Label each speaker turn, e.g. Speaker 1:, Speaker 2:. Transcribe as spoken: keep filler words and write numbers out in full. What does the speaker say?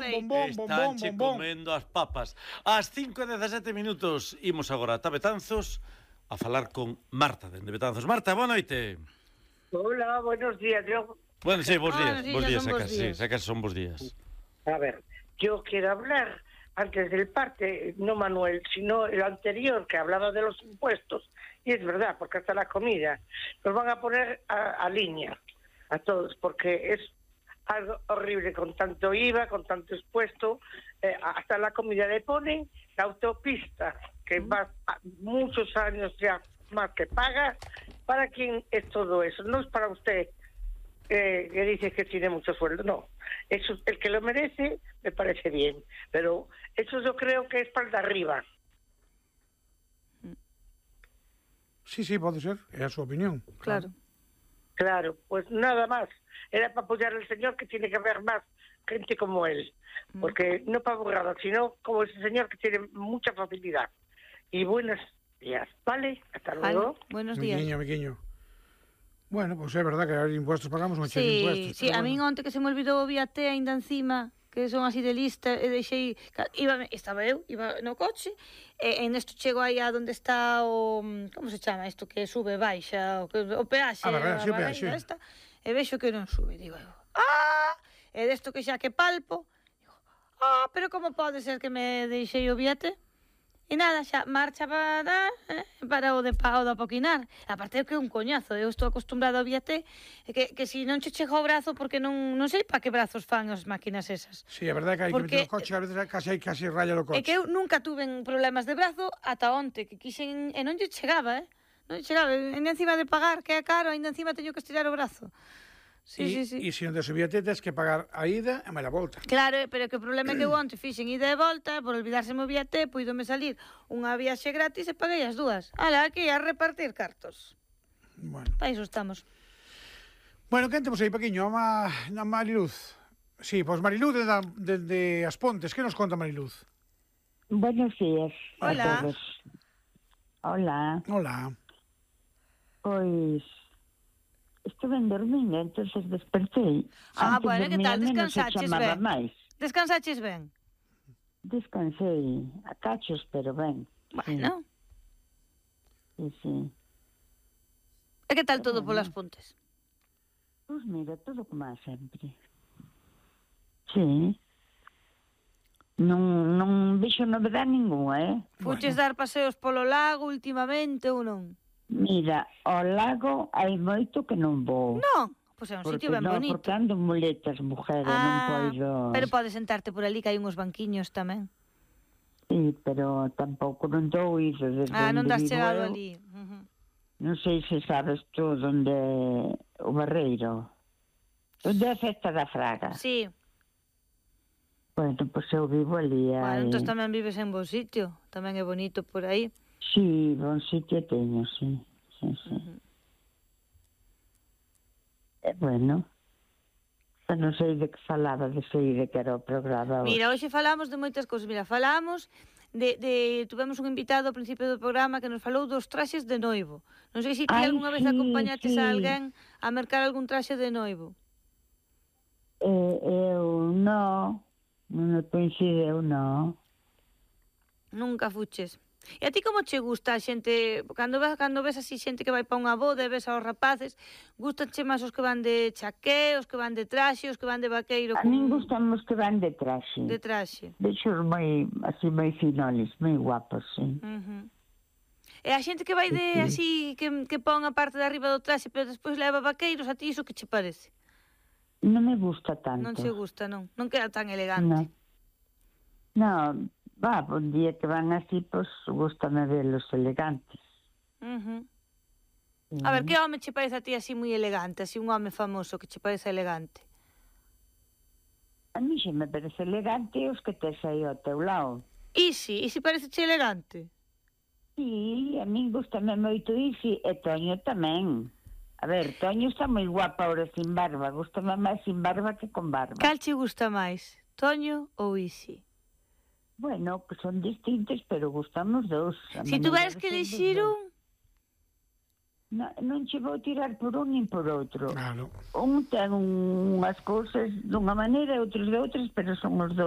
Speaker 1: bombón, bombón,
Speaker 2: Estanche
Speaker 1: bombón.
Speaker 2: comendo as papas. Ás cinco e dezasete minutos imos agora ata Betanzos a falar con Marta dende Betanzos. Marta, boa noite.
Speaker 3: Hola, buenos días. Yo,
Speaker 2: Bueno, sí, bons
Speaker 4: Ah,
Speaker 2: días.
Speaker 4: sí,
Speaker 2: Bons
Speaker 4: ya
Speaker 2: días,
Speaker 4: son bos
Speaker 2: sacas, sí,
Speaker 4: días.
Speaker 2: sacas son bons días.
Speaker 3: a ver, yo quiero hablar antes del parte, no Manuel, sino el anterior que hablaba de los impuestos. Y es verdad, porque hasta la comida nos van a poner a, a línea a todos, porque es algo horrible con tanto I V A, con tanto impuesto. Eh, hasta la comida le ponen la autopista, que va a muchos años ya más que paga. ¿Para quién es todo eso? No es para usted, eh, que dice que tiene mucho sueldo, no. Eso, el que lo merece, me parece bien, pero eso yo creo que es para el de arriba.
Speaker 1: Sí, sí, pode ser, é a súa opinión.
Speaker 4: Claro.
Speaker 3: Claro, pues nada más. Era para apoyar al señor, que tiene que haber más gente como él, porque no para burrada, sino como ese señor que tiene mucha facilidad. Y buenos días, ¿vale? Hasta
Speaker 4: Vale,
Speaker 3: luego.
Speaker 4: buenos días.
Speaker 1: Miquiño, miquiño. Bueno, pois pues é verdad que hai impuestos, pagamos un cheque de
Speaker 4: Sí,
Speaker 1: impuestos.
Speaker 4: sí, a min onte que se me olvidou o viaté aínda encima, que son así de lista, e deixei, iba, estaba eu, iba no coche, e en esto chego aí a donde está o, como se chama isto, que sube, baixa, o, que, o peaxe,
Speaker 1: A barreira, sí, o
Speaker 4: barreira
Speaker 1: peaxe.
Speaker 4: esta, e vexo que non sube, digo eu, ah, e desto que xa que palpo, digo, ah, pero como pode ser que me deixei o viate? E nada, xa marcha para eh, para o de pa, o de apoquinar. Aparte é que é un coñazo, eu estou acostumbrado ao viaté, que, que si non che chega o brazo, porque non, non sei pa que brazos fan as máquinas esas.
Speaker 1: Sí, é verdade que hai
Speaker 4: Porque-
Speaker 1: que meter o coche, a veces casi hai casi raya do coche.
Speaker 4: É que eu nunca tuve problemas de brazo ata onte, que quixen, e non lle chegaba, eh? Non lle chegaba, e encima de pagar, que é caro, ainda encima teño que estirar o brazo. Sí,
Speaker 1: e,
Speaker 4: sí, sí.
Speaker 1: E se non te subíate, tens que pagar a ida e máis a volta.
Speaker 4: Claro, pero que o problema é que eu onte fixen ida e volta, por olvidárseme o viaté, puidome salir unha viaxe gratis e paguei as dúas. Ala, aquí a repartir cartos.
Speaker 1: Bueno,
Speaker 4: Para iso estamos.
Speaker 1: bueno, quen temos aí, Paquiño? A, Ma, a Mariluz. Sí, pois Mariluz de, de, de As Pontes. Que nos conta Mariluz?
Speaker 5: Buenos días
Speaker 4: Hola.
Speaker 5: a todos. Hola.
Speaker 1: Hola.
Speaker 5: Pois estuve dormindo, entonces despertei.
Speaker 4: Ah,
Speaker 5: Antes
Speaker 4: bueno, que tal?
Speaker 5: dormíame, non se
Speaker 4: Descansaches
Speaker 5: chamaba
Speaker 4: ben?
Speaker 5: máis.
Speaker 4: Descansaches ben?
Speaker 5: Descansei a cachos, pero ben.
Speaker 4: Bueno.
Speaker 5: Sí, sí.
Speaker 4: E que tal todo polas Pontes?
Speaker 5: Pois mira, todo como a sempre. Sí. Non, non vexo novedade ninguna, eh?
Speaker 4: Fuches dar paseos polo lago últimamente ou non?
Speaker 5: Mira, ao lago hai moito que non vou.
Speaker 4: Non, pois é un
Speaker 5: Porque
Speaker 4: sitio ben
Speaker 5: non,
Speaker 4: bonito.
Speaker 5: porque ando muletas, mujer, e non poido...
Speaker 4: Pero podes sentarte por ali, que hai uns banquiños tamén.
Speaker 5: Sí, pero tampouco non dou iso desde
Speaker 4: Ah, non
Speaker 5: onde
Speaker 4: das
Speaker 5: vivo
Speaker 4: chegado
Speaker 5: eu.
Speaker 4: ali. Uh-huh.
Speaker 5: Non sei se sabes tú onde o Barreiro. Onde é a festa da Fraga.
Speaker 4: Sí,
Speaker 5: Bueno, pois eu vivo ali.
Speaker 4: bueno,
Speaker 5: Hai...
Speaker 4: entón tamén vives en bo sitio. Tamén é bonito por aí.
Speaker 5: Sí, bon sitio teño, sí. sí, sí.
Speaker 4: Uh-huh.
Speaker 5: E bueno, eu non sei de que falaba, de sei de que era o programa.
Speaker 4: Mira, hoxe falamos de moitas cousas. Mira, falamos de, de... Tuvemos un invitado ao principio do programa que nos falou dos traxes de noivo. Non sei se ti
Speaker 5: Ai,
Speaker 4: algunha vez
Speaker 5: sí,
Speaker 4: acompañates
Speaker 5: sí.
Speaker 4: a alguén a mercar algún traxe de noivo.
Speaker 5: Eh, eu non, non me coincideu, non.
Speaker 4: Nunca fuches. E a ti como che gusta a xente, cando ves, cando ves así xente que vai pa unha boda e ves aos rapaces, gustanche máis os que van de chaqué, os que van de traxe, os que van de vaqueiro
Speaker 5: A min gustan os que van de traxe.
Speaker 4: de traxe?
Speaker 5: Vexos moi, así, moi finoles, moi guapos, sí.
Speaker 4: Uh-huh. E a xente que vai de así, que, que pon a parte de arriba do traxe, pero despois leva vaqueiros, a ti iso que che parece?
Speaker 5: Non me gusta tanto.
Speaker 4: Non che gusta, non? Non queda tan elegante.
Speaker 5: Non, no, va, un día que van así, pois, pues, gustame verlos elegantes.
Speaker 4: Uh-huh.
Speaker 5: Sí.
Speaker 4: A ver, que home che parece a ti así moi elegante, así un home famoso que che parece elegante?
Speaker 5: A mí xe me parece elegante os que tes aí ao teu lado.
Speaker 4: Isi, Isi parece che elegante?
Speaker 5: Sí, a min gustame moito Isi, e Toño tamén. A ver, Toño está moi guapa ahora sin barba, gustame máis sin barba que con barba.
Speaker 4: Cal che gusta máis, Toño ou Isi?
Speaker 5: Bueno, que son distintos, pero gustan os dous. A
Speaker 4: Si
Speaker 5: maneira
Speaker 4: tuveras
Speaker 5: de
Speaker 4: que
Speaker 5: ser dos
Speaker 4: elixir
Speaker 5: dous.
Speaker 4: un,
Speaker 5: No, non che vou tirar por un nin por outro.
Speaker 1: Claro.
Speaker 5: Un ten un, unhas cousas dunha maneira e outros de outras, pero son os dous